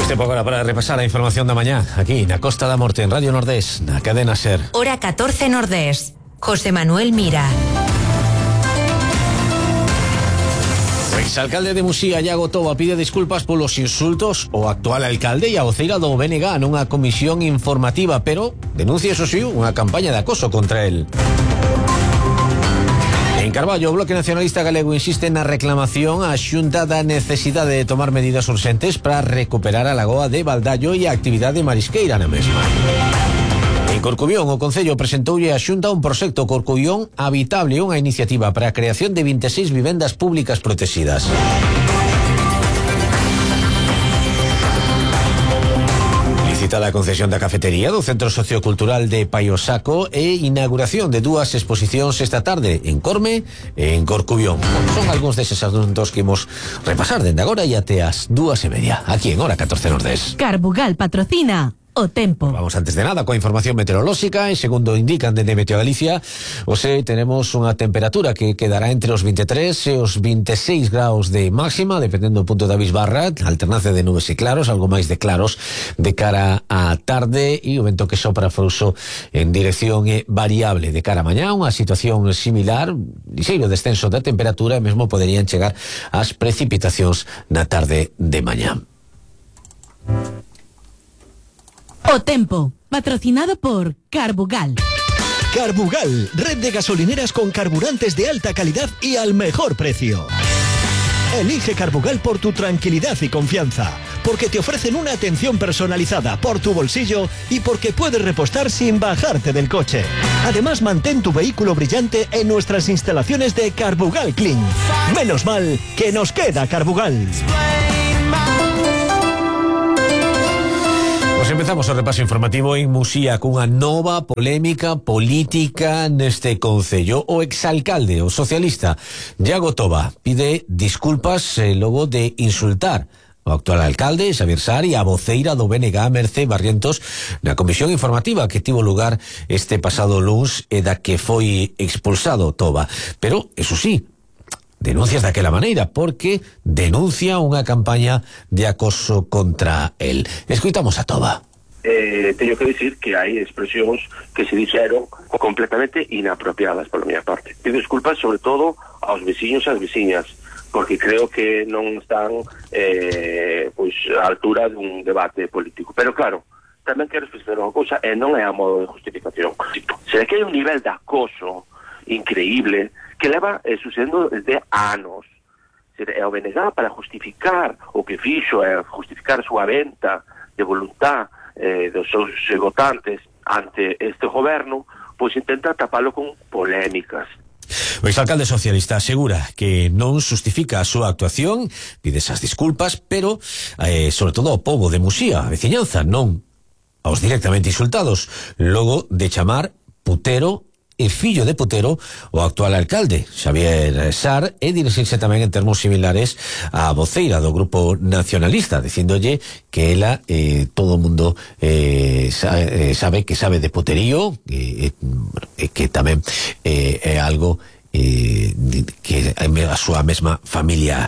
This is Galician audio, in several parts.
Tempo agora para repasar a información da mañá aquí na Costa da Morte en Radio Nordés, na cadena SER. Hora 14 Nordés. José Manuel Mira. O exalcalde de Muxía, Iago Toba, pide disculpas polos insultos ao actual alcalde e a voceira do BNG nunha comisión informativa, pero denuncia, eso sí, unha campaña de acoso contra el. En Carballo, o Bloque Nacionalista Galego insiste na reclamación á Xunta da necesidade de tomar medidas urxentes para recuperar a lagoa de Baldallo e a actividade marisqueira na mesma. En Corcubión, o Concello presentoulle á Xunta un proxecto Corcubión Habitable, unha iniciativa para a creación de 26 vivendas públicas protegidas. Licitada a concesión da cafetería do Centro Sociocultural de Paiosaco e inauguración de dúas exposicións esta tarde en Corme e en Corcubión. Son algúns deses asuntos que imos repasar dende agora e até as 2:30 aquí en Hora 14 Nordés. Carbugal patrocina o tempo. Vamos antes de nada coa información meteorolóxica e segundo indican dende Meteo Galicia, hoxe tenemos unha temperatura que quedará entre os 23 e os 26 graus de máxima, dependendo do punto da bisbarra, alternancia de nubes e claros, algo máis de claros de cara á tarde e o vento que sopra frouxo en dirección variable de cara a mañá, unha situación similar, ligeiro descenso da temperatura e mesmo poderían chegar as precipitacións na tarde de mañá. O tempo, patrocinado por Carbugal. Carbugal, red de gasolineras con carburantes de alta calidad y al mejor precio. Elige Carbugal por tu tranquilidad y confianza, porque te ofrecen una atención personalizada por tu bolsillo y porque puedes repostar sin bajarte del coche. Además, mantén tu vehículo brillante en nuestras instalaciones de Carbugal Clean. Menos mal que nos queda Carbugal. Pues empezamos o repaso informativo en Muxía cunha nova polémica política neste concello. O exalcalde, o socialista Iago Toba, pide disculpas logo de insultar o actual alcalde, Xavier Sar, e a voceira do BNG, Mercé Barrientos, na comisión informativa que tivo lugar este pasado luns e da que foi expulsado Toba. Pero, eso sí, denuncias daquela maneira, porque denuncia unha campaña de acoso contra el. Escoitamos a Toba. Teño que dicir que hai expresións que se dixeron completamente inapropiadas pola miña parte. Pido disculpas sobre todo aos veciños e ás veciñas, porque creo que non están pois á altura dun debate político. Pero claro, tamén quero explicar unha cousa, e non é a modo de justificación. Se que hai un nivel de acoso increíble que leva sucedendo desde anos. É o BNG para justificar o que fixo, é justificar a súa venta de voluntad dos seus votantes ante este goberno, pois intenta tapalo con polémicas. O exalcalde socialista asegura que non justifica a súa actuación, pide esas disculpas, pero sobre todo ao pobo de Muxía, a veciñanza, non aos directamente insultados, logo de chamar putero e fillo de putero o actual alcalde, Xavier Sar, e dirixirse tamén en termos similares á voceira do grupo nacionalista, dicíndolle que ela, todo o mundo sabe que sabe de puterío, que tamén é algo que a súa mesma familia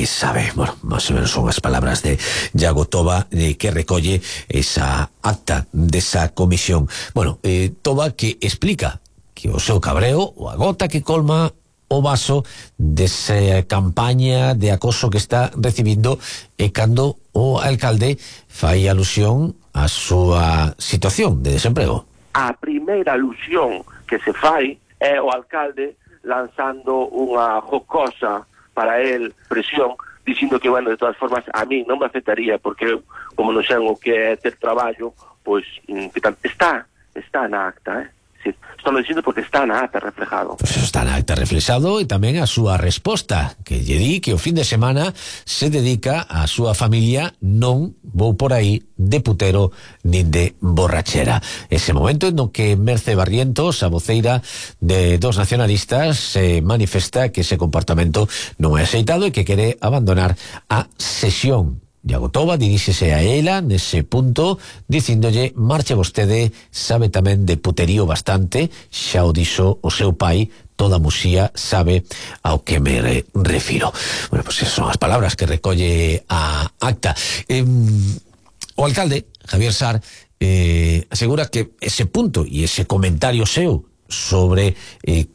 sabe. Bueno, máis ou menos son as palabras de Iago Toba que recolle esa acta desa comisión. Bueno, Toba que explica que o seu cabreo, ou a gota que colma o vaso desa campaña de acoso que está recibindo e cando o alcalde fai alusión á súa situación de desemprego. A primeira alusión que se fai é o alcalde lanzando unha jocosa para el presión, dicindo que, bueno, de todas formas, a mí non me afectaría porque eu, como non sei o que é ter traballo, pois está na acta, Estou dicindo porque está na acta reflejado. Pues está na acta reflexado e tamén a súa resposta, que lle di que o fin de semana se dedica a súa familia, non vou por aí de putero nin de borrachera. Ese momento en no que Mercé Barrientos, a voceira de dos nacionalistas, se manifesta que ese comportamento non é aceitado e que quere abandonar a sesión. Iago Toba diríxese a ela nese punto dicíndolle: marche vostede, sabe tamén de puterío bastante, xa o dixo o seu pai, toda Muxía sabe ao que me refiro. Bueno, pues esas son as palabras que recolle a acta. O alcalde, Javier Sar, asegura que ese punto e ese comentario seu sobre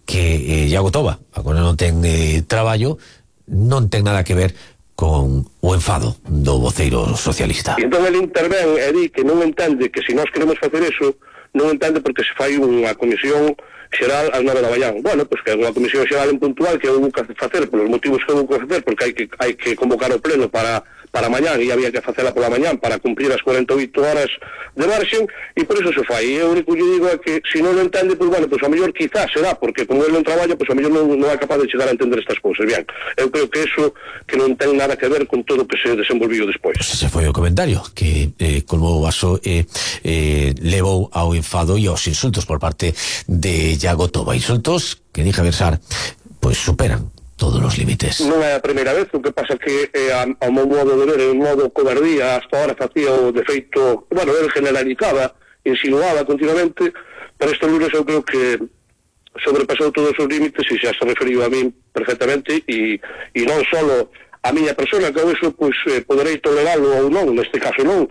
que Iago Toba agora non ten traballo non ten nada que ver con o enfado do voceiro socialista. E entón ele intervén e di que non entende que se nós queremos facer eso, non entende porque se fai unha comisión xeral ás 9 da mañá. Bueno, pois que é unha comisión xeral en puntual que houve que facer polos motivos que houve que facer, porque hai que convocar o pleno para mañán e había que facela pola mañán para cumprir as 48 horas de marxen e por eso se fai. E o único que digo é que se non o entende, pois bueno, pois a mellor quizás será porque como ele non traballa, pois a mellor non é capaz de chegar a entender estas cousas. Bien, eu creo que eso que non ten nada que ver con todo o que se desenvolviu despois. Pues ese foi o comentario que colmou o vaso levou ao enfado e aos insultos por parte de Iago Toba. Insultos que, di Javier Sar, pois superan todos os límites. Non é a primeira vez, o que pasa que ao meu modo de ver, en modo cobardía, hasta ahora facía o defeito, bueno, ele generalizaba, insinuaba continuamente, pero este lunes eu creo que sobrepasou todos os límites e xa se referiu a min perfectamente e non só a miña persona, que eu eso pois poderei toleralo ou non, neste caso non,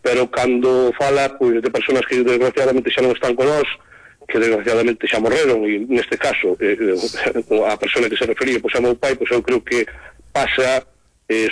pero cando fala pois de personas que desgraciadamente xa non están con nós, que desgraciadamente xa morreron e neste caso a persona que se refería pois a meu pai, pois eu creo que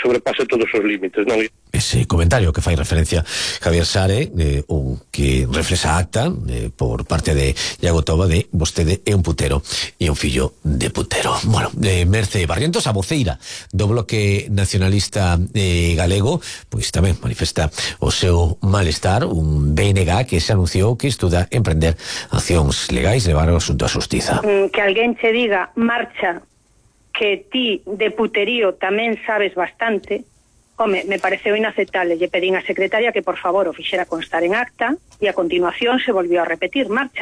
sobrepasa todos os límites, non? Ese comentario que fai referencia Javier Sare, o que reflexa acta por parte de Iago Toba de vostede é un putero e un fillo de putero. Bueno, Merce Barrientos, a voceira do Bloque Nacionalista Galego, pois tamén manifesta o seu malestar, un BNG que se anunciou que estuda emprender accións legais levar o asunto á xustiza. Que alguén che diga marcha que ti de puterío tamén sabes bastante, home, me pareceu inaceptable. Lle pedín á secretaria que por favor o fixera constar en acta e a continuación se volvió a repetir, marcha.